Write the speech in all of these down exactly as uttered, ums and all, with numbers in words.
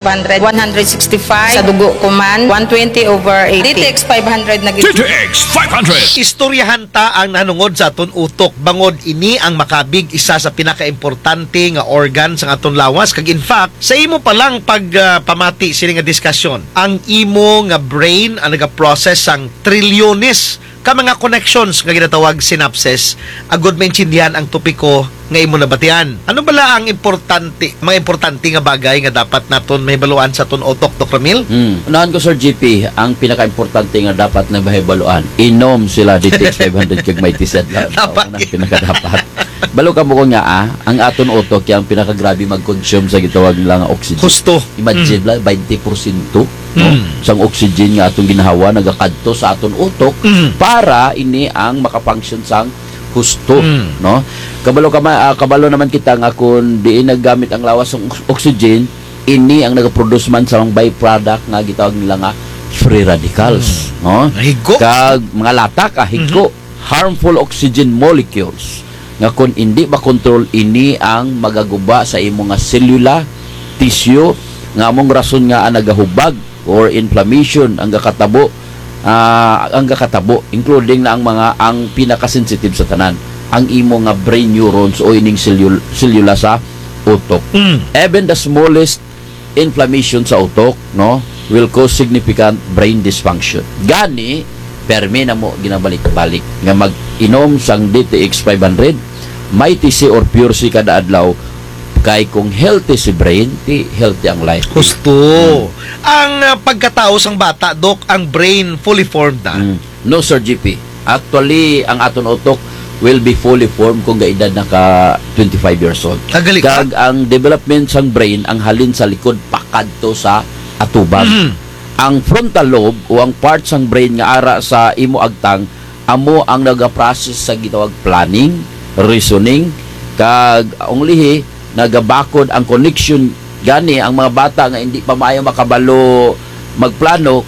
five hundred, one hundred sixty-five sa dugo ko man, one twenty over eighty. D T X five hundred na gid. D T X five hundred. Istoryahan ta ang nahanungod sa aton utok, bangod ini ang makabig isa sa pinakaimportante nga organ sa aton lawas. Kag in fact, sa imo pa lang pag, ah, pamati sini nga diskasyon, ang imo nga brain ang nagaprocess sang trilyones ka mga connections nga ginatawag synapses, agud maintindihan ang topiko nga imo nabatian. Ano bala ang importante, mga importante nga bagay nga dapat naton mahibaluan sa aton utok, Doc Ramil? Hmm. Unahan ko, Sir G P, ang pinakaimportante nga dapat na mahibaluan, inom sila D T X five hundred kag Mighty C adlaw-adlaw. Dapat. Ang pinakadapat. Balo kamo ko nga, ah, ang aton utok kay ang pinakagrabe mag-consume sa gitawag nila nga oxygen. Husto. Imagine, mm, la, twenty porsyento, no? Mm. Sang oxygen nga atong ginhawa nagakadto sa aton utok, mm, para ini ang maka-function sang husto, mm, no? Kabalo ka ma-, ah, kabalo naman kita nga kun diin nagagamit ang lawas sang ox-, oxygen, ini ang nagaproduce man sa mga byproduct nga gitawag nila nga free radicals, mm, no? Higko. Kag mga lata ka, higko. Mhm. Harmful oxygen molecules nga kun indi makontrol, ini ang magaguba sa imo nga selula, tissue, nga among rason nga ang nagahubag or inflammation ang gakatabo, ah, ang gakatabo, including na ang mga, ang pinakasensitive sa tanan, ang imo nga brain neurons o ining selul-, selula sa utok. Mm. Even the smallest inflammation sa utok, no, will cause significant brain dysfunction. Gani, permi namo ginabalik-balik nga mag-inom sang D T X five hundred, Mighty C or Pure C kada adlaw, kay kung healthy si brain, ti healthy ang life. Husto. Hmm. Ang, ah, pagkatao sang bata, Doc, ang brain fully formed na? Hmm. No, Sir G P. Actually, ang aton utok will be fully formed kung gaedad na ka twenty-five years old. Ah, gali pa? Kag ang development sang brain, ang halin sa likod pakadto sa atubang. Mhm. Ang frontal lobe o ang part sang brain nga ara sa imo agtang, amo ang nagaprocess sa gitawag planning, reasoning, kag ang lihi, nagabakod ang connection. Gani, ang mga bata nga indi pa maayo makabalo magplano,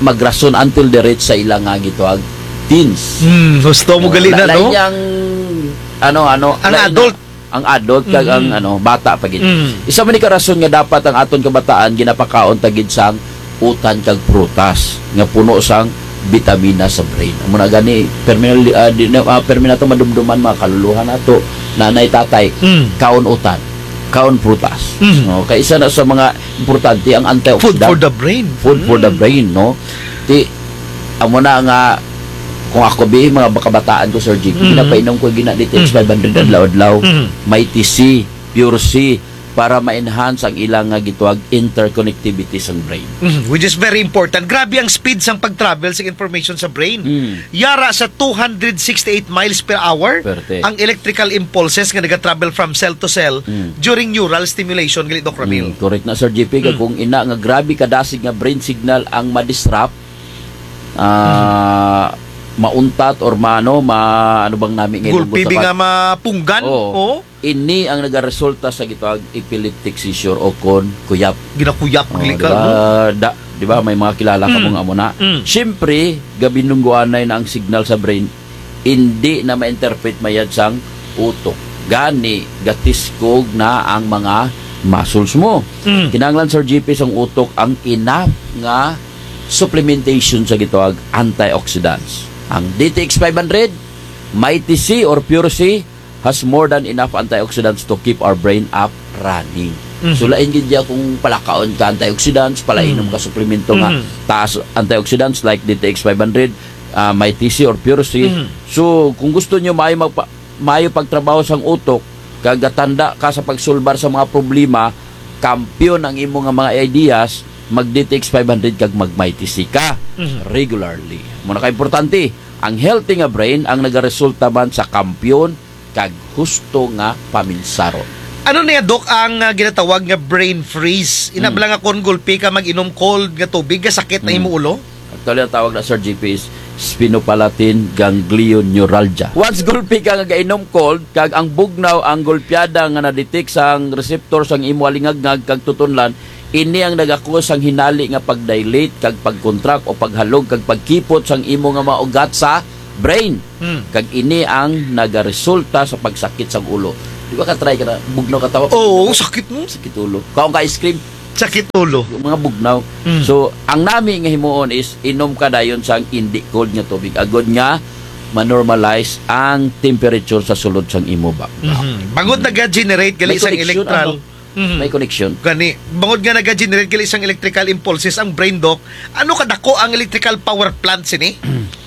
magrason until diretso sa ila nga gitawag teens. Hmm, husto mo gali na, no? Lain ang, ano, ano, ang adult. Ang adult kag ang, ano, bata pa gid. Mm. Isa man ni ka rason nga dapat ang aton kabataan ginapakaon ta gid sang utan kag prutas nga puno sang bitamina sa brain. Amo na gani, permi, ah, di na, ah, permi nato madumduman mga kaluluha nato, nanay, tatay, mm, kaon utan, kaon prutas. Mm. No, kay isa na sa mga importante ang antioxidant. Food for the brain. Food for the brain, no? Ti, amo na nga, kung ako bi, mga kabataan ko, Sir G P, mm, ginapainom ko gina D T X five hundred adlaw-adlaw. Mm. Mighty C, Pure C, para ma-enhance ang ilang nga gitawag interconnectivity sang brain. Mm, which is very important. Grabe ang speed sang pag-travel sang information sa brain. Mm. Yara sa two hundred sixty-eight miles per hour, perte, ang electrical impulses nga naga-travel from cell to cell, mm, during neural stimulation, gali, Doc Ramil. Mm, correct na, Sir G P, kag, mm, kung ina nga grabe kadasig nga brain signal ang ma-disrupt, ah, mauntat or ma-, ano, ma-, ano bang nami nga gulpi bi nga mapunggan? Oo. Oo. Ini ang nagaresulta sa gitawag epileptic seizure o kon kuyap. Ginakuyap, oh, gali ka, di ba? No? Da-, di ba, may mga kilala ka, mm, mga amo na. Mm. Siyempre, gabinungguanay na ang signal sa brain, indi na ma-interpret mayad sang utok. Gani, gatiskog na ang mga muscles mo. Mm. Kinahanglan, Sir G P, sang utok ang enough nga supplementation sa gitawag antioxidants. Ang D T X five hundred, Mighty C or Pure C, has more than enough antioxidants to keep our brain up running. Mhm. So, lain gid dya kung palakaon ka antioxidants, palainom, mhm, ka suplemento nga, mhm, taas antioxidants like D T X five hundred, ah, Mighty C or Pure C. Mhm. So, kung gusto nyo maayo magpa-, maayo pagtrabaho sang utok, kag gatanda ka sa pagsulbar sa mga problema, kampiyon ang imo nga mga ideas, mag D T X five hundred kag mag Mighty C ka, mhm, regularly. Amo na ka importante, ang healthy nga brain ang nagaresulta man sa kampiyon kag husto nga paminsaron. Ano na, Doc, ang, ah, ginatawag nga brain freeze? Ina, hmm, bala nga kon gulpi ka mag-inom cold nga tubig, gasakit na, hmm, imo ulo? Actually, ang tawag na, Sir G P, is sphenopalatine ganglion neuralgia. Once gulpi ka nga gainom cold, kag ang bugnaw ang gulpyada nga na-detect sang receptor sang imo halingagngag kag tutunlan, ini ang nagakus sang hinali nga pag-dilate kag pag-contract o paghalog kag pagkipot sang imo nga mga ugat sa brain. Hmm. Kag ini ang nagaresulta sa pagsakit sang ulo. Di ba ka-try ka na, bugnaw ka tawa? Oo, sakit, no? Sakit ulo. Kaon ka ice cream, Sakit ulo. Mga bugnaw. Mm. So, ang nami nga himuon is inom ka dayon sang indi cold nga tubig. Agud nga ma-normalize ang temperature sa sulod sang imo backpack. Mhm. Bangod naga-generate gali sang electrical. Mhm. May connection. Gani, bangod nga naga-generate gali sang electrical impulses ang brain, Doc, ano kadako ang electrical power plant sini?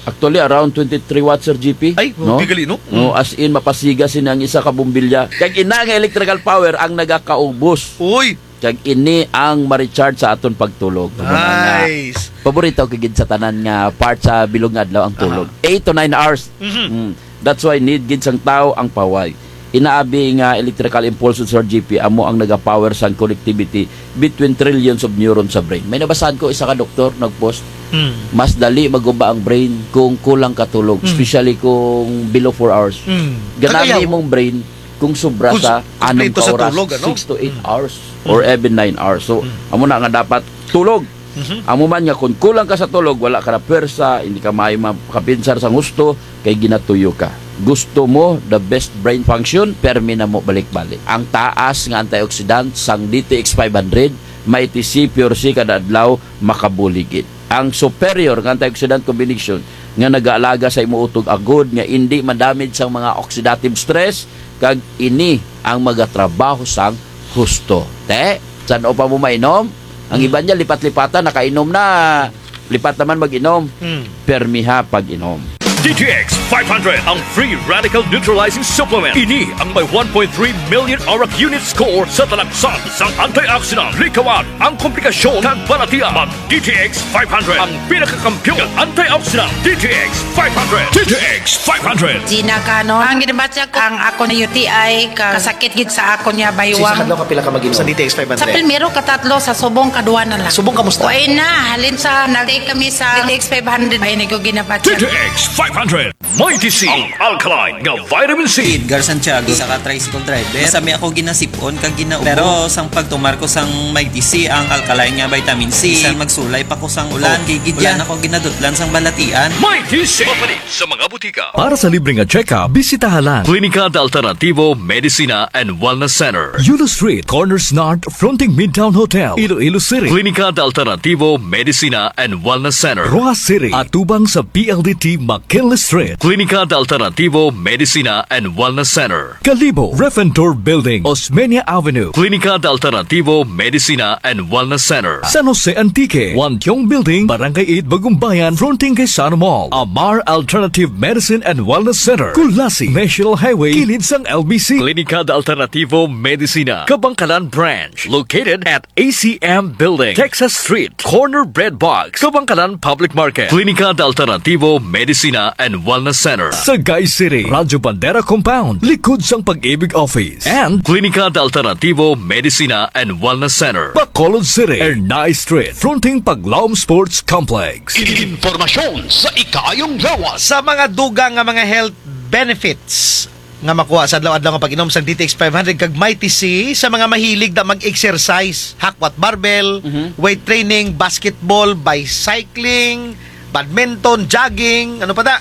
Actually, around twenty-three watts, Sir G P. Ay, no? Okay gali, no? No, mm, as in, mapasiga sini ang isa ka bombilya. Kag ina nga electrical power ang nagakaubos. Uy! Kag ini ang ma-recharge sa aton pagtulog. Nice. Paborito ko gid sa tanan nga part sa bilog nga adlaw ang tulog. Aha. Eight to nine hours. Mhm. Mm. That's why need gid sang tawo ang paway. Inaabi nga electrical impulse, Sir G P, amo ang naga-power sang connectivity between trillions of neurons sa brain. May nabasahan ko isa ka doktor nag-post, mm, mas dali maguba ang brain kung kulang ka tulog, mm, especially kung below four hours. Mm. Ganahan imong brain kung sobra sa anom ka oras, six to eight hours, mm, or even nine hours. So, mm, amo na nga dapat tulog. Mhm. Amo man nga kung kulang ka sa tulog, wala ka na pwersa, hindi ka maayo makapinsar sang husto, kay ginatuyo ka. Gusto mo the best brain function, permi namo balik-balik. Ang taas nga antioxidant sang D T X five hundred, Mighty C, Pure C kada adlaw, makabulig gid. Ang superior nga antioxidant combination nga nagaalaga sa imo utog agud nga indi ma-damage sang mga oxidative stress, kag ini ang magatrabaho sang husto. Te, san-o pa mo mainom? Ang iba niya, lipat-lipatan, nakainom na, lipat naman mag-inom. Hmm. Permiha pag-inom. D T X five hundred, ang free radical neutralizing supplement. Ini ang may one point three million ORAC unit score sa talagsaon sang antioxidant. Likawan ang komplikasyon kag balatian. Mag D T X five hundred, ang pinakakampiyon nga antioxidant. D T X five hundred. D T X five hundred. Gina Canon, ang ginabatya ko, ang akon U T I, ka-, kasakit gid sa akon nga baywang. Sa isa ka adlaw, kapila ka mag-inom sa D T X five hundred? Sa primero, katatlo, sa subong, kaduha na lang. Subong, kamusta? Way na, halin sa nag-take kami sa D T X five hundred, way na ko ginabatya. D T X five hundred. Mighty C, ang alkaline nga vitamin C. Edgar Santiago, isa ka tricycle driver. Masami ako ginasip-on kag ginaubo. Pero sang pagtumar ko sang Mighty C, ang alkaline nga vitamin C, bisan magsulay pa ko sang ulan, o, kay gid wala na ko ginadutlan sang balatian. Mighty C. Mapalit sa mga butika. Para sa libre nga check-up, bisitaha lang Klinika de Alternativo Medicina and Wellness Center, Yulo Street, corner Snart, fronting Midtown Hotel, Iloilo City. Klinika de Alternativo Medicina and Wellness Center, Roxas City, atubang sa P L D T McKinley Street. Klinika de Alternativo Medicina and Wellness Center, Kalibo, Ref and Tour Building, Osmeña Avenue. Klinika de Alternativo Medicina and Wellness Center, San Jose Antique, Wantiong Building, Barangay eight, Bagumbayan, fronting kay Sano Mall. Amar Alternative Medicine and Wellness Center, Culasi, National Highway, kilid sang L B C. Klinika de Alternativo Medicina, Kabankalan Branch, located at A C M Building, Texas Street, corner Bread Box, Kabankalan Public Market. Klinika de Alternativo Medicina and Wellness Center, Sagay City, Radyo Bandera Compound, likod sang Pag-ibig Office. And Klinika de Alternativo Medicina and Wellness Center, Bacolod City, Ernai Street, fronting Paglaom Sports Complex. Impormasyon sa ikaayong lawas. Sa mga dugang nga mga health benefits nga makuha sa adlaw-adlaw nga pag-inom sang D T X five hundred kag Mighty C, sa mga mahilig da mag-exercise, hakwat barbell, mhm, weight training, basketball, bicycling, badminton, jogging, ano pa da?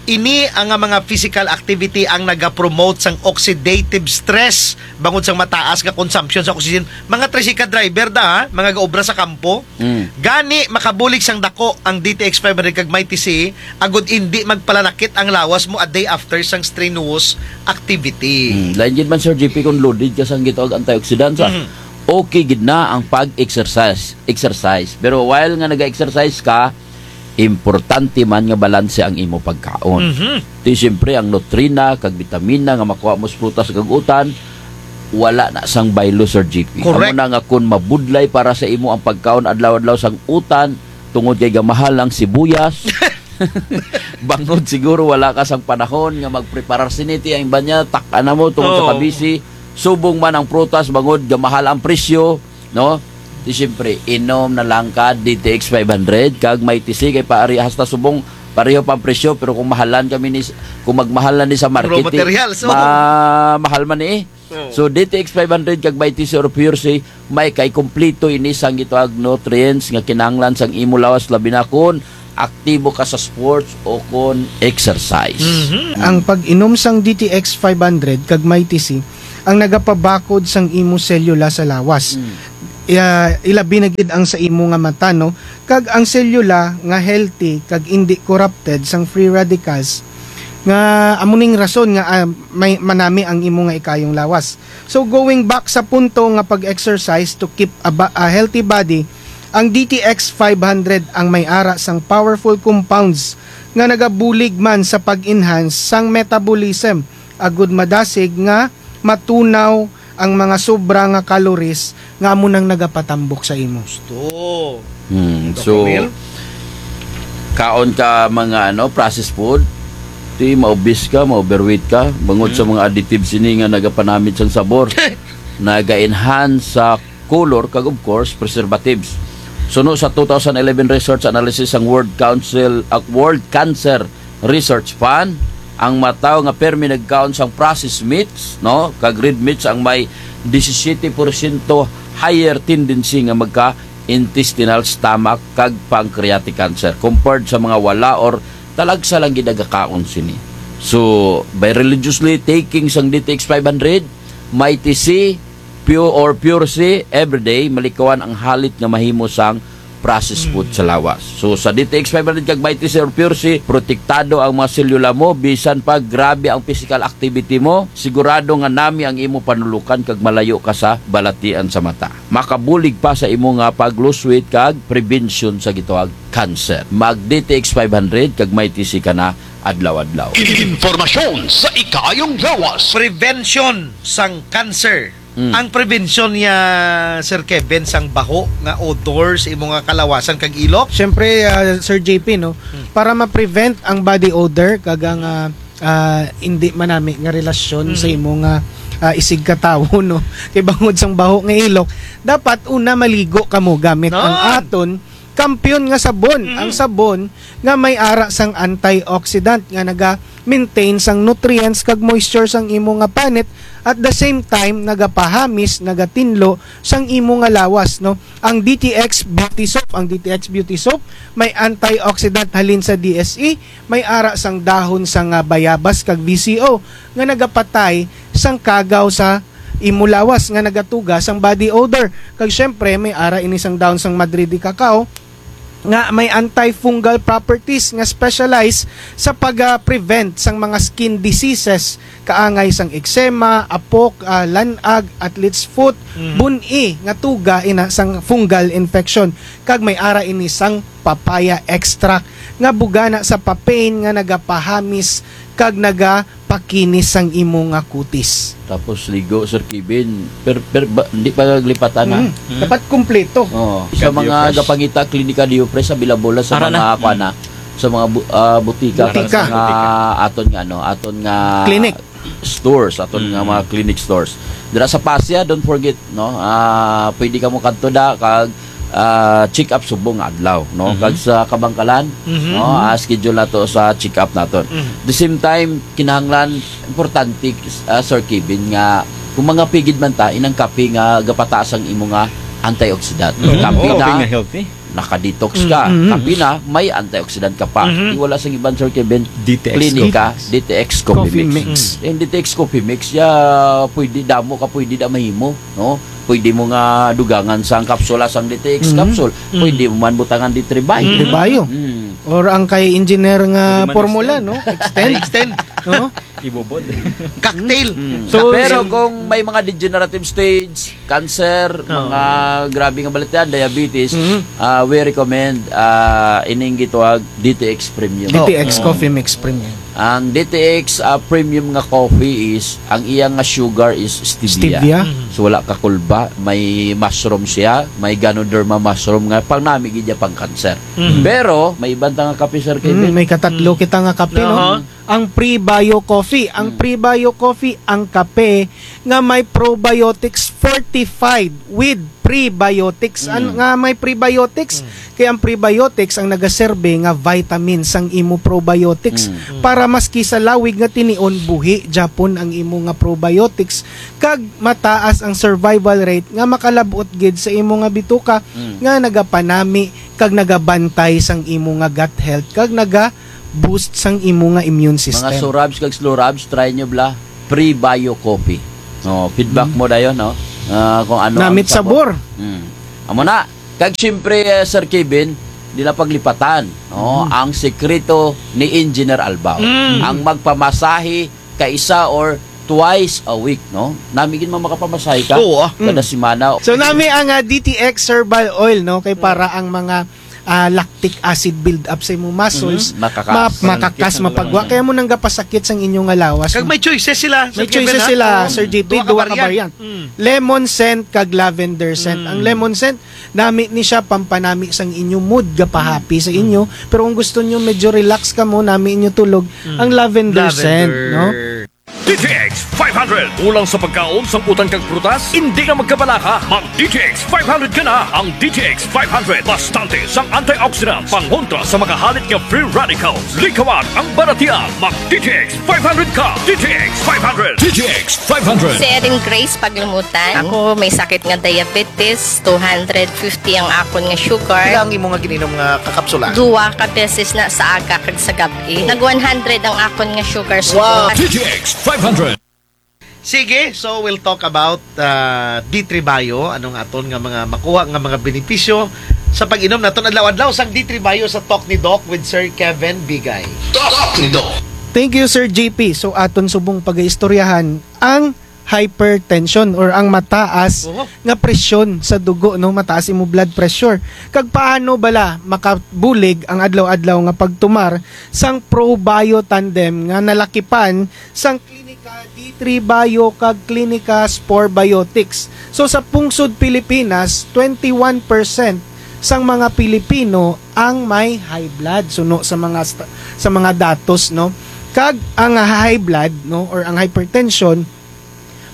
Ini ang mga physical activity ang nagapromote sang oxidative stress bangod sang mataas nga consumption sa oxygen. Mga tricycle driver da, ha? Mga gaobra sa kampo. Mm. Gani, makabulig sang dako ang D T X five hundred kag Mighty C, agud indi magpalanakit ang lawas mo a day after sang strenuous activity. Mm. Lain gid man, Sir G P, kung loaded ka sang gitawag antioxidants, ah. Mm. Okay gid na ang pag-exercise, exercise. Pero while nga naga-exercise ka, importante man nga balanse ang imo pagkaon. Mhm. Ti siyempre, ang nutrina kag bitamina nga makuha mo sa prutas kag utan, wala na sang baylo, Sir G P. Correct. Amo na nga kun mabudlay para sa imo ang pagkaon adlaw-adlaw sang utan, tungod kay gamahal ang sibuyas. Bangod siguro wala ka sang panahon nga magpreparar sini, ti ang iba niya, tak-an na mo tungod sa kabisi. Subong man ang prutas, bangod gamahal ang presyo, no? Ti siyempre, inom na lang ka D T X five hundred kag Mighty C, kay paari hasta subong pareho pa ang presyo, pero kung mahalan kami ni, kung magmahalan ni sa market, raw materials, oh, ma-, mahal man ni, eh. Oh. So, D T X five hundred kag Mighty C or Pure C, may kay kumpleto ini sang gitawag nutrients nga kinahanglan sang imo lawas, labi na kun aktibo ka sa sports o kun exercise. Mhm. Ang pag-inom sang D T X five hundred kag Mighty C ang nagapabakod sang imo selula sa lawas. Mm. ah, ilabi na gid ang sa imo nga mata, no? Kag ang selula nga healthy kag indi corrupted sang free radicals, nga amo ning rason nga, ah, may manami ang imo nga ikayong lawas. So, going back sa punto nga pag-exercise to keep a, ba- a healthy body, ang D T X five hundred ang may ara sang powerful compounds nga nagabulig man sa pag-enhance sang metabolism, agud madasig nga matunaw ang mga sobra nga calories nga amo nang nagapatambok sa imo. Gusto. Hmm, Doc so, Romel? Kaon ka mga, ano, processed food, ti ma-obese ka, ma-overweight ka, bangod sa mga additives ini nga nagapanamit sang sabor, naga-enhance sa color, kag of course, preservatives. Suno sa two thousand eleven research analysis sang World Council, ah, World Cancer Research Fund, ang mga tawo nga permi nagkaon sang processed meats, no, kag red meats ang may disisiyete porsyento higher tendency nga magka intestinal, stomach, kag pancreatic cancer compared sa mga wala or talagsa lang gid nagakaon sini. So, by religiously taking sang D T X five hundred, Mighty C, Pure or Pure C, everyday, malikawan ang halit nga mahimo sang processed food sa lawas. So, sa D T X five hundred kag Mighty C or Pure C, protektado ang mga selula mo, bisan pa grabe ang physical activity mo, sigurado nga nami ang imo panulukan kag malayo ka sa balatian sa mata. Makabulig pa sa imo nga pag-lose weight kag prevention sa gitawag cancer. Mag D T X five hundred kag Mighty C ka na adlaw-adlaw. Impormasyon sa ikayong lawas. Prevention sang cancer. Mm. Ang prevention niya, Sir Kevin, sang baho nga odor sa imo nga kalawasan kag ilok? Siyempre, ah, Sir J P, no? Mm. Para ma-prevent ang body odor, kag ang, ah, ah, hindi manami nga relasyon sa imo nga, ah, isigkatawo, no? Kay bangod sang baho nga ilok, dapat una maligo kamo gamit ang aton kampiyon nga sabon. Mm. Ang sabon nga may ara sang antioxidant nga naga-maintain sang nutrients kag moisture sang imo nga panit, at the same time, nagapahamis, nagatinlo sang imo nga lawas, no? Ang D T X Beauty Soap, ang D T X Beauty Soap, may antioxidant halin sa D S E, may ara sang dahon sang, ah, bayabas kag V C O nga nagapatay sang kagaw sa imo lawas nga nagatuga sang body odor. Kag syempre, may ara ini sang dahon sang madre de cacao nga may antifungal properties nga specialize sa pag, ah, prevent sang mga skin diseases, kaangay sang eczema, apok, ah, lanag, athlete's foot, bun-i nga tuga ina sang fungal infection. Kag may ara ini sang papaya extract nga bugana sa papain nga nagapahamis kag nagapakinis sang imo nga kutis. Tapos ligo, Sir Kevin. Per, per, ba, hindi pa lipatan, ha? Mm. Mm. Dapat kumpleto. Oo. Sa mga gapangita, Klinika Diopres, available sa mga, kuan na, sa mga bu-, ah, butika, sa mga aton nga, ano, aton nga clinic. Stores, aton nga mga clinic stores. Dira sa Pasya, don't forget, no? Ah, pwede kamo kadto da kag, ah, check up subong nga adlaw, no? Kag sa Kabankalan, no? Ah, schedule nato sa check up naton. The same time, kinahanglan, importante, ah, Sir Kevin, nga kung mga pigid man ta, inang kape nga gapataas ang imo nga antioxidant. Kape na, nga healthy. Naka-detox ka. Kape na, may antioxidant ka pa. Ti wala sang iban, Sir Kevin, D T X Klinika, D T X Coffee Mix. Ang D T X Coffee Mix, ya, pwede damo ka, pwede da mahimo, no? Pwede mo nga dugangan sang kapsula sang D T X capsule. Pwede mo man butangan di Tribay. Tribay. Or ang kay engineer nga formula, no? Extend. Extend. No? Ibubod. Cocktail. So, pero kung may mga degenerative stage, cancer, mga grabe nga balatian, diabetes, ah, we recommend, ah, ining gitawag D T X Premium. D T X Coffee Mix Premium. Ang D T X, ah, Premium nga coffee is, ang iya nga sugar is stevia. Stevia. So, wala kakulba, may mushroom siya, may Ganoderma mushroom nga pangnami gid ya pang cancer. Pero, may iban ta nga kape, Sir Kevin. May katatlo kita nga kape, no? Ang Prebio Coffee. Ang Prebio Coffee, ang kape nga may probiotics fortified with prebiotics. An-, nga may prebiotics, kay ang prebiotics ang nagaserbe nga vitamin sang imo probiotics para maski sa lawig nga tinion, buhi japon ang imo nga probiotics, kag mataas ang survival rate nga makalab-ot gid sa imo nga bituka nga nagapanami kag nagabantay sang imo nga gut health kag naga boost sang imo nga immune system. Mga Surabs kag Slurabs, try nyo bala, Prebio Coffee. No, feedback mo dayon, no? Ah, kung ano ang sabor. Namit sabor. Mm. Amo na. Kag siyempre, eh, Sir Kevin, di na paglipatan, no? Mm. Ang sekreto ni Engineer Albao. Mm. Ang magpamasahe kaisa or twice a week, no? Nami gid man makapamasahe ka Oo, ah. kada Mm. semana. So, nami ang, ah, D T X herbal oil, no? Kay Mm. para ang mga, ah, lactic acid build up sa imong muscles, Mhm. Makakas. ma-, makakas, Mananakit ang mapagwa. lawas. Kaya mo nang gapasakit sang inyo nga lawas. Kag may choices sila, May Sir Kevin, choices ha? sila, Oo. Sir G P, Duha ka duha ka variant. variant. Mm. Lemon scent kag lavender scent. Ang Mm. lemon scent, nami ni siya pampanami sang inyo mood, gapahappy sa Mm. inyo. Pero kung gusto nyo medyo relax kamo, nami inyo tulog, Mm. ang lavender scent, Lavender. no? D T X five hundred. Kulang sa pagkaon, sangkutan kag prutas? Indi na magkabalaka. Mag D T X five hundred ka na. Ang D T X five hundred, bastante sang antioxidants, pangontra sa mga halit nga free radicals. Likawan ang baratian. Mag D T X five hundred ka. D T X five hundred. D T X five hundred. Si Erin Grace Paglumutan. Ako may sakit nga diabetes, two hundred fifty ang akon nga sugar. Pila ang imo nga gin-inom nga kakapsula? Duwa ka beses na sa aga kag sa gab-i. Nag one hundred ang akon nga sugar. Wow. D T X five hundred. Sige, so we'll talk about, ah, D three Bio, anong aton nga mga makuha nga mga benepisyo sa pag-inom naton adlaw-adlaw sang D three Bio sa Talk ni Doc with Sir Kevin Bigay. Talk ni Doc. Thank you, Sir G P. So, aton subong pagaistoryahan ang hypertension or ang mataas Oho. nga presyon sa dugo, no? Mataas imo blood pressure. Kag paano bala makabulig ang adlaw-adlaw nga pagtumar sang Probio Tandem nga nalakipan sang Klinika D three Bio kag Klinika Spore Biotics? So, sa pungsod Pilipinas, twenty-one percent sang mga Pilipino ang may high blood, suno sa mga sta-, sa mga datos, no? Kag ang high blood, no, or ang hypertension,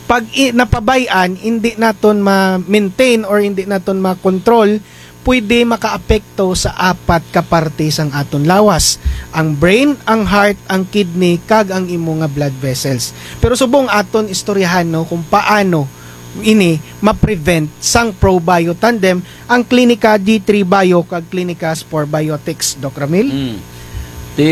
pag i-, napabay-an, indi naton ma-maintain or indi naton ma-control, pwede makaapekto sa apat ka parte sang aton lawas, ang brain, ang heart, ang kidney, kag ang imo nga blood vessels. Pero subong aton istoryahan, no, kung paano ini ma-prevent sang Probio Tandem, ang Klinika D three Bio kag Klinika Spore Biotics, Doc Ramil? Mm. Ti,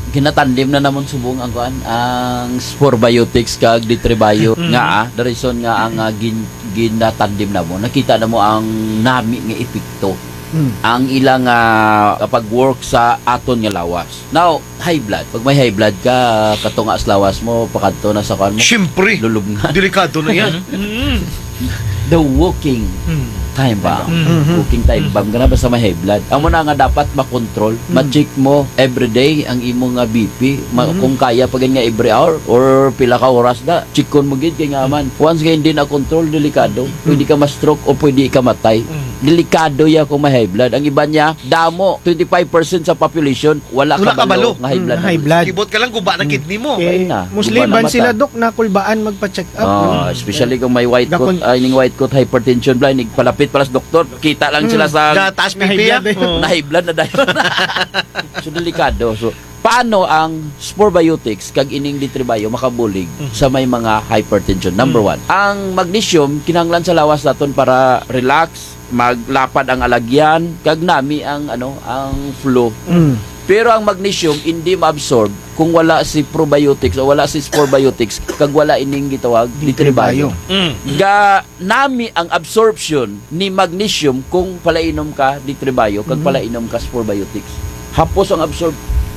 ginatandem na namon subong ang kuan, ang Spore Biotics kag D three Bio Mm. nga, ah, the reason nga ang, ah, gin-, ginatandem namon, nakita namo ang nami nga epekto Mm. ang ilang, ah, pag-work sa aton nga lawas. Now, high blood. Pag may high blood ka, katunga sa lawas mo, pakadto na sa kuan mo. Siyempre. Lulubngan. Delikado na yan. Mm. The walking Mm. time bomb. Mm. Walking time Mm. bomb. Kana basta may high blood. Amo na nga dapat makontrol. Mm. Ma-check mo everyday ang imo nga B P. Ma-, Mm. kung kaya pa gid nga every hour or pila ka oras da, checkon mo gid kay nga man. Once nga hindi na control, delikado. Mm. Pwede ka ma-stroke o pwede ka matay. Mm. Delikado ya kung may high blood. Ang iban niya, damo, twenty-five percent sa population, wala Wala kabalo kabalo. nga high Mm, blood na high blood. Kibot ka lang, guba na Mm. kidney mo. Okay. Ay na, Mostly, guba na iban mata. sila, Dok, nakulbaan magpa-check up, Ah, no? especially kung may white Dakon- coat, ay, ning white coat hypertension bala, nagpalapit para sa doktor. Kita lang Mm. sila sa Gataas High P P, blood, ah. eh. Oo. na high blood na dayon. So, delikado. So, paano ang Spore Biotics kag ining D three Bio makabulig Mhm. sa may mga hypertension? Number Mm. one, ang magnesium kinahanglan sa lawas naton para relax, maglapad ang alagyan, kag nami ang, ano, ang flow. Mm. Pero ang magnesium indi ma-absorb kung wala si probiotics o wala si spore biotics, kag wala ining gitawag D three Bio. D three Bio. Mm. Ga nami ang absorption ni magnesium kung palainom ka D three Bio, kag Mm. palainom ka spore biotics. Hapos ang absorb,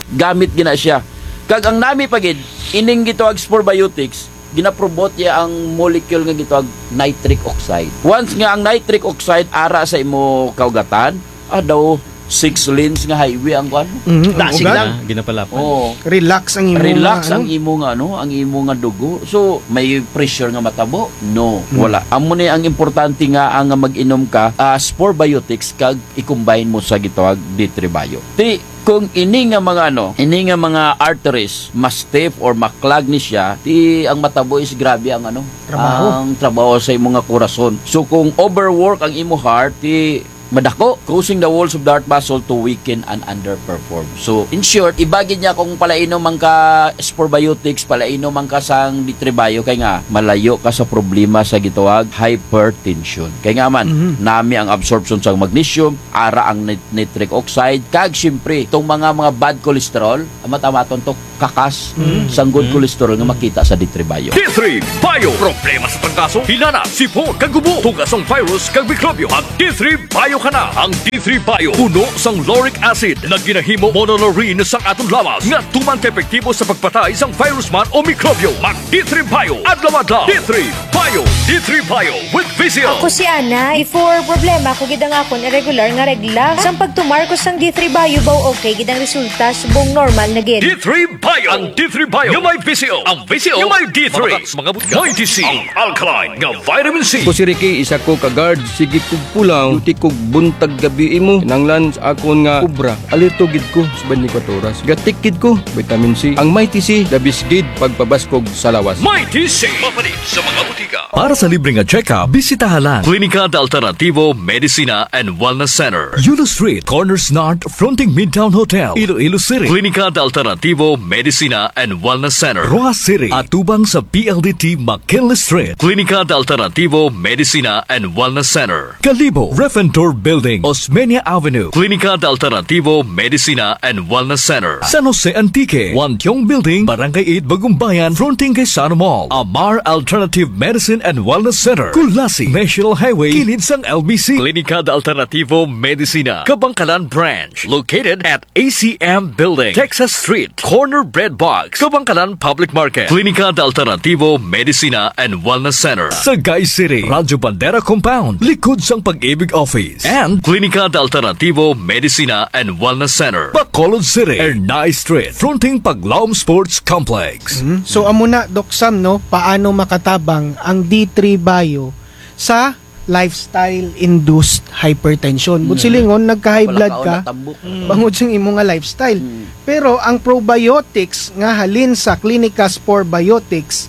gamit gina siya. Kag ang nami pa gid, ining gitawag spore biotics, ginapromote ya ang molecule nga gitawag nitric oxide. Once nga ang nitric oxide ara sa imo kaugatan, ah, daw six lanes nga highway ang kuan. Mm, ang Dasig ugat. lang. Ah, ginapalapad. Oo. Relax ang imo Relax nga, ang ano? imo nga, ano, ang imo nga dugo. So, may pressure nga matabo? No, Mm. wala. Amo ni ang importante nga, ang mag-inom ka, ah, spore biotics kag i-combine mo sa gitawag D three Bio. Ti, kung ini nga mga ano, ini nga mga arteries, ma-stiff or ma-clog ni siya, ti ang matabo is grabe ang ano, Trabaho. ang trabaho sa imo nga korason. So kung overwork ang imo heart, ti Madako, causing the walls of the heart muscle to weaken and underperform. So, in short, iba gid niya kung palainom man ka Spore Biotics, palainom man ka sang D three Bio, kay nga, malayo ka sa problema sa gitawag hypertension. Kay nga man, Mhm. nami ang absorption sa magnesium, ara ang nit-, nitric oxide, kag siyempre, itong mga, mga bad cholesterol, amat-amaton to, kakas, Mm. sang good Mm. cholesterol nga makita sa D three Bio. D three Bio. Problema sa trangkaso, hilanat, sipon, kag ubo, tuga sang virus, kag mikrobyo. Mag D three Bio ka na. Ang D three Bio, puno sang lauric acid, nga ginahimo monolaurin sang aton lawas, nga tuman ka epektibo sa pagpatay sang virus man o mikrobyo. Mag D three Bio, adlaw-adlaw. D three Bio, D three Bio with V C L. Ako si Ana. Before, problema ko gid ang akon irregular nga regla. Sang pagtumar ko sang D three Bio, baw okay gid ang resulta, subong normal na gid. D three Bio. Ang D three Bio nga may V C L. Ang V C L nga may D three. Mabata sa mga butya. May D C. Ang alkaline nga vitamin C. Ako si Ricky, isa ko ka guard. Sige kog pulaw, duty kog buntag gabii mo. Kinahanglan sa akon nga obra, alerto gid ko sa twenty-four oras. Gatik gid ko, vitamin C. Ang Mighty C, the best gid pagpabaskog sa lawas. Mighty C. Mapalit sa mga butika. Para sa libre nga check-up, bisitaha lang Klinika de Alternativo Medicina and Wellness Center, Yulo Street, corner Snart, fronting Midtown Hotel, Iloilo City. Klinika de Alternativo Medicina and Wellness Center, Roxas City, atubang sa P L D T McKinley Street. Klinika de Alternativo Medicina and Wellness Center, Kalibo, Ref and Tour Building, Osmeña Avenue. Klinika de Alternativo Medicina and Wellness Center, San Jose Antique, Wantiong Building, Barangay eight, Bagumbayan, fronting kay Sano Mall. Amar Alternative Medicine and Wellness Center, Culasi, National Highway, kilid sang L B C. Klinika de Alternativo Medicina, Kabangkalan Branch, located at A C M Building, Texas Street, corner Bread Box, Kabangkalan Public Market. Klinika de Alternativo Medicina and Wellness Center, Sagay City, Radyo Bandera Compound, likod sang Pag-ibig Office. And Klinika de Alternativo Medicina and Wellness Center, Bacolod City, Ernai Street, fronting Paglaom Sports Complex. Mhm. So, amo na, Doc Sam, no, paano makatabang ang D three Bio sa lifestyle-induced hypertension. But Mm. silingon, nagka-high Wala blood ka, ka, wala tambok. Mm. bangod sa imo nga lifestyle. Mm. Pero ang probiotics nga halin sa Klinika Spore Biotics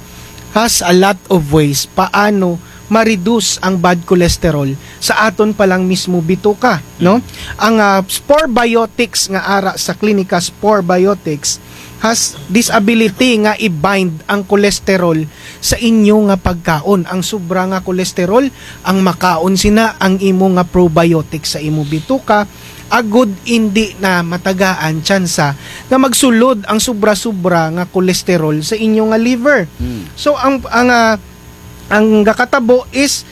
has a lot of ways paano ma-reduce ang bad cholesterol sa aton pa lang mismo bituka, no? Mm. Ang, ah, Spore Biotics nga ara sa Klinika Spore Biotics has this ability nga i-bind ang cholesterol sa inyo nga pagkaon. Ang sobra nga cholesterol, ang makaon sina ang imo nga probiotic sa imo bituka, agud indi na matagaan tsansa nga magsulod ang sobra-sobra nga cholesterol sa inyo nga liver. Hmm. So, ang, ang, ah, ang gakatabo is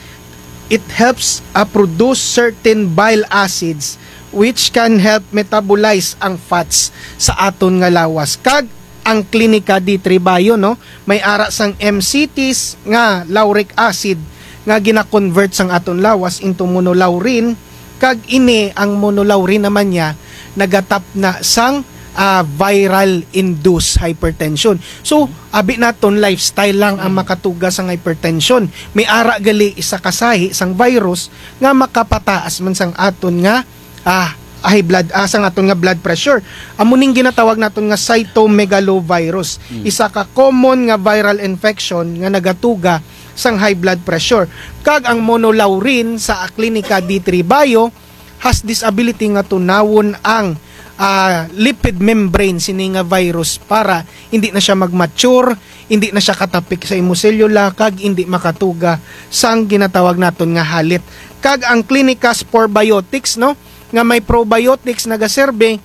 it helps, ah, produce certain bile acids which can help metabolize ang fats sa aton nga lawas. Kag ang Klinika D three Bio, no, may ara sang M C Ts nga lauric acid nga gina-convert sang aton lawas into monolaurin, kag ini ang monolaurin naman niya nagatapna sang, ah, viral-induced hypertension. So, abi naton lifestyle lang ang makatuga sang hypertension. May ara gali isa ka sahi sang virus nga makapataas man sang aton nga ah, high blood, ah, sang aton nga blood pressure. Amo ning ginatawag naton nga cytomegalovirus. Mm. Isa ka common nga viral infection nga nagatuga sang high blood pressure. Kag ang monolaurin sa Klinika D three Bio has this ability nga tunawon ang, ah, lipid membrane sini nga virus para indi na siya mag-mature, indi na siya katapik sa imo selula, kag indi makatuga sang ginatawag naton nga halit. Kag ang Klinika Spore Biotics, no, nga may probiotics nagaserbi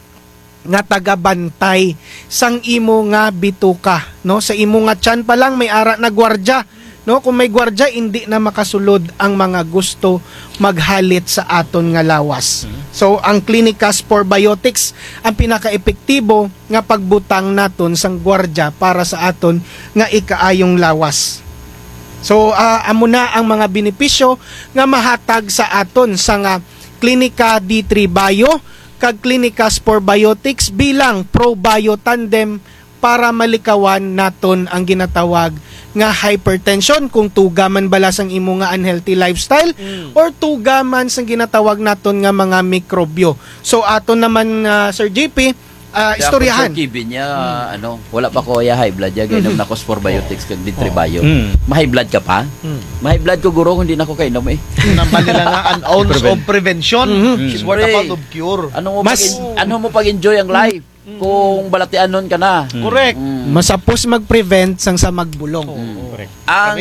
nga tagabantay sang imo nga bituka, no? Sa imo nga tiyan pa lang may ara na gwardya, no? Kung may gwardya, indi na makasulod ang mga gusto maghalit sa aton nga lawas. Mhm. So, ang Klinika Spore Biotics ang pinakaepektibo nga pagbutang naton sang gwardya para sa aton nga ikaayong lawas. So, ah, amo na ang mga benepisyo nga mahatag sa aton sang, ah, Klinika D three Bio kag Klinika Spore Biotics bilang ProBio Tandem para malikawan naton ang ginatawag nga hypertension kung tuga man bala sang imo nga unhealthy lifestyle Mm. or tuga man sang ginatawag naton nga mga mikrobyo. So, aton naman, ah, Sir J P, Ah, istoryahan. Kaya kung Sir Kevin niya, ano, wala pa ko ya high blood ya, gainom na ko Spore Biotics kag D three Bio. Mm. Ma-high blood ka pa? Mm. Ma-high blood ko, guro, kung di na ko kainom eh. Nambal nila nga, an ounce of prevention is worth a pound of cure. Ano mo pag-en-, ano mo pag-enjoy ang life? Kung balatianon ka na. Correct. Mm. Mas hapos mag-prevent sang sa magbulong. Mm. Correct. Ang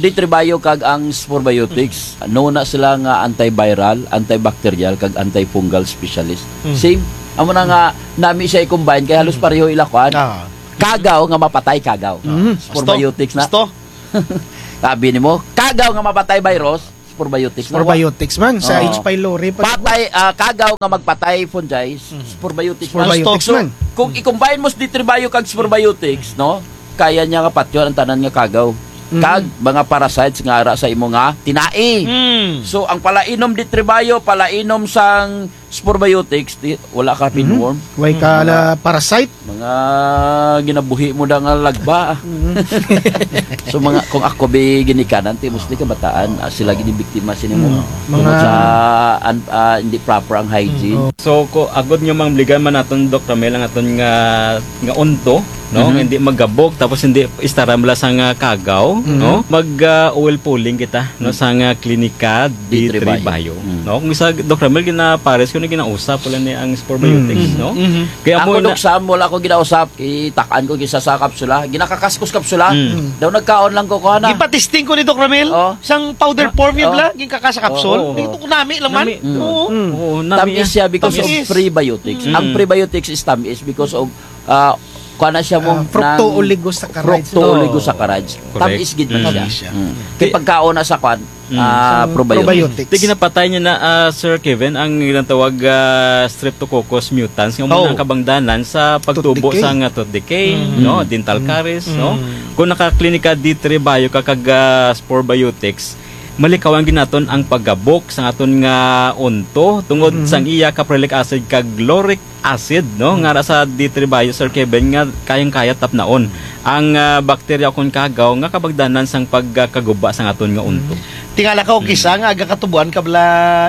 D three Bio kag ang Spore Biotics, nuon na sila nga antiviral, antibacterial, kag antifungal specialist. Mm. Same. Amo na nga, nami siya i-combine, kay halos pareho ila kuan. Ah. Kagaw nga mapatay kagaw. Mm. Spore Biotics na. Gusto? Sabi nimo, kagaw nga mapatay virus, Spore Biotics na. Spore Biotics man, sa H. pylori pa. Patay, ah, kagaw nga magpatay fungi, Spore Biotics man. Spore Biotics man. Kung i-combine mo sa D three Bio kag Spore Biotics, no? Kaya niya nga patyon ang tanan nga kagaw. Mm. Kag mga parasites nga ara sa imo nga tinai. Mm. So, ang palainom D three Bio, palainom sang Spore Biotics, di, wala ka pinworm. Way ka la parasite. Mga ginabuhi mo da nga lagba, ah. So, mga, kung ako bi ginikanan, ti mostly kabataan, ah, sila gid biktima sini mo. Mm. Tungod sa, an-, ah, hindi proper ang hygiene. Mm, oh. So, ko, agod nga mamligan man naton, Doc Ramil, ang aton nga, nga unto, no? Mhm. Hindi magabok, tapos hindi istaram la sang kagaw, no? Mag, ah, oil pulling kita, no? Sang, ah, Clinica D three Bio. Mm. No? Kung isa, Doc Ramil, ginapares ko na ginausap, wala ni ang Spore Biotics, no? Mhm. Kaya ako, Doc Sam, wala ko ginausap, itak-an ko kisa sa kapsula, ginakakas ko sa kapsula. Mm. Daw nagkaon lang ko, kuha na. Ipatesting ko ni Doc Ramil, sang powder form yun bala, ginkaka sa kapsul. Oo, oo. Ito ko nami lang man. Nami. Oo. Oo, nami. Tamis siya because of prebiotics. Mm. Ang prebiotics is tamis because of, ah, kuha na siya mo, ah, fructooligosaccharides. Fructooligosaccharides. Correct. Tamis gid man siya. Tamis siya. Mm. Kay pagkaon na sa kuan, ah, probiotics. Probiotics. Ti ginapatay niya na, ah, Sir Kevin, ang ginatawag, ah, Streptococcus mutans, nga amo na ang kabangdanan sa pagtubo sa nga tooth decay, no? Dental caries, no? Kung naka-Clinica D three Bio ka kag, ah, Spore Biotics, malikawan gid naton ang pagabok sa aton nga unto tungod sang iya caprylic acid kag lauric acid, no? Nga ara sa D three Bio, Sir Kevin, nga kayang-kaya tapnaon ang, ah, bakterya kon kagaw nga kabagdanan sang pagkaguba sang aton nga unto. Tingala ka, kung kisa nga aga katuboan ka bala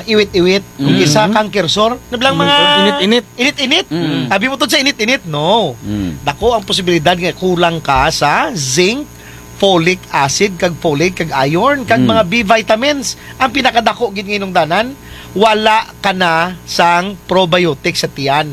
iwit-iwit, kung kisa canker sore, na bala mga init-init. Init-init. Abi mo tod sa init-init, no. Dako ang posibilidad nga kulang ka sa zinc, folic acid, kag folate, kag iron, kag mga B vitamins. Ang pinakadako gid nga inungdanan, wala ka na sang probiotics sa tiyan.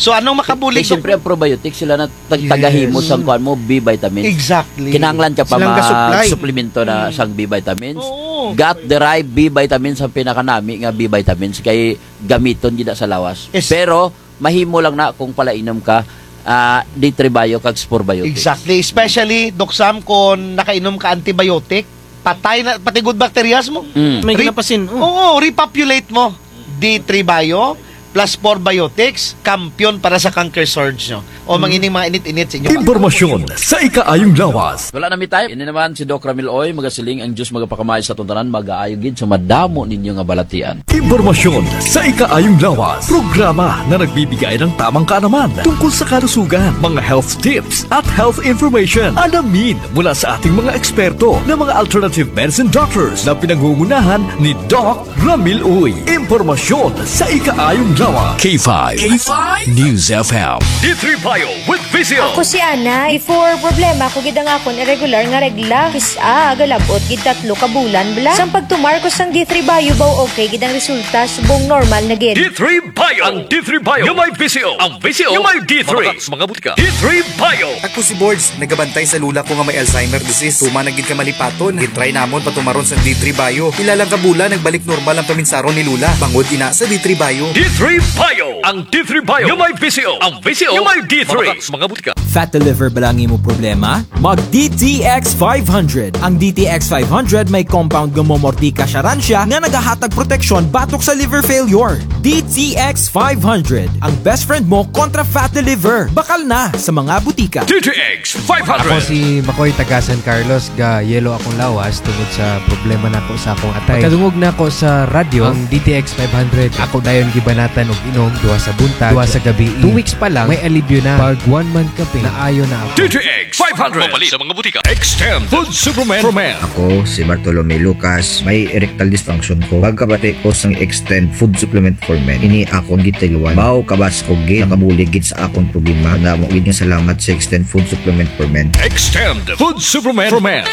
So, anong makabulig, Doc? Kay siyempre, ang probiotics, sila na tag-, tagahimo sang kuan mo, B vitamins. Exactly. Kinahanglan ka pa ma-suplemento na sang B vitamins. Oo. Gut-derived B vitamins ang pinakanami nga B vitamins kay gamiton gid na sa lawas. Pero, mahimo lang na kung palainom ka, ah, D three Bio kag Spore Biotics. Exactly. Especially, Doc Sam, kung nakainom ka antibiotic, patay na, pati good bacterias mo. Mm. May ginapasin, oh. Oo, repopulate mo. D three Bio plus Spore Biotics, kampiyon para sa canker sores nyo. O, mangining mga init-init sa inyo. Impormasyon sa ikaayong lawas. Wala na mi time. Ini naman si Doc Ramil Uy, magasiling ang Diyos magapakamay sa aton tanan, mag-aayo gid sa madamo ninyo nga balatian. Impormasyon sa ikaayong lawas. Programa na nagbibigay ng tamang kaalaman tungkol sa kalusugan, mga health tips at health information. Alamin mula sa ating mga eksperto na mga alternative medicine doctors na pinangungunahan ni Doc Ramil Uy. Impormasyon sa ikaayong lawas. K five. K five News F M. D three Bio with Visio. Ako si Ana. Before, problema ko gid ang akon irregular nga regla. Kis-a, galab-ot gid tatlo ka bulan bala. Sang pagtumar ko sang D three Bio, baw okay gid ang resulta, subong normal na gid. D three Bio. Ang D three Bio nga may Visio. Ang Visio nga may D three. Mabakal sa mga butika. D three Bio. Ako si Borge, nagabantay sa lola ko nga may Alzheimer disease. Tuman na gid ka malipaton. Gin-try namon patumaron sang D three Bio. Pila lang ka bulan, nagbalik normal ang paminsaron ni lola. Bangod ina sa D three Bio. D three Bio. Ang D three Bio nga may Visio. Ang Visio nga may D three. Mabakal sa mga butika. Fat liver bala ang imo problema? Mag D T X five hundred. Ang D T X five hundred may compound nga momortika siya ran siya nga nagahatag proteksyon batok sa liver failure. D T X five hundred, ang best friend mo kontra fatty liver. Bakal na sa mga butika. D T X five hundred. Ako si Makoy, taga San Carlos, ga-yellow akong lawas tungod sa problema nako sa akong atay. Pagkadungog nako sa radyo, ang D T X five hundred, ako dayon gibanatan og inom, duha sa buntag, duha sa gabii. Two weeks pa lang, may alibyo na. Pag one month ka, Naayo na ako. D T X five hundred. Mapalit sa mga butika. Extend Food Supplement for Men. Ako si Bartolome Lucas, may erectile dysfunction ko. Pagkabati ko sang Extend Food Supplement for Men, ini akon gitayluan. Baw kabas ko gid, nakabulig gid sa akon problema. Damo gid nga salamat sa Extend Food Supplement for Men. Extend Food Supplement for Men.